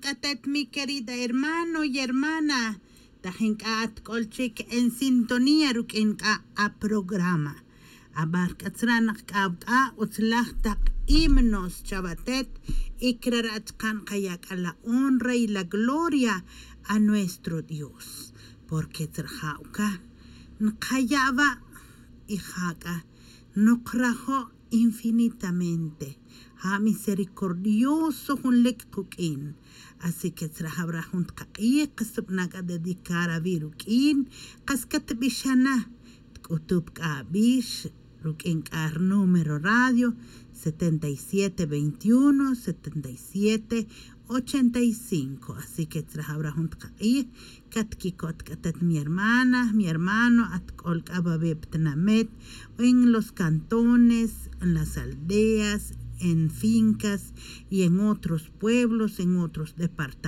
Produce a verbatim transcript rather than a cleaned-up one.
k'atet mi querida hermano y hermana, tajin k'a at k'ol chik en sintonía ruk'in k'a a programa. Abar k'a tzra' naq k'a awk'a' utzlaj taq himnos chawatet, y crara' chaqan qaya' k'a la honra y la gloria a nuestro Dios, porque tzraja' uka nqaya' wa', y ja k'a noqrajo' infinitamente. Ja misericordioso jun lik quk'in. Así que tzraja' wara jun taq'ij qas tbana' k'a dedicar awi' ruk'in, qas katbixana, tk'utup k'a abix ruk'in k'a rnúmero radio setenta y siete veintiuno setenta y siete ochenta y cinco. Así que tzraja' wara jun taq'ij, katkikot k'atet mi hermana, mi hermano, at k'ol k'a wawi' ptinamet, en los cantones, en las aldeas, en fincas y en otros pueblos, en otros departamentos.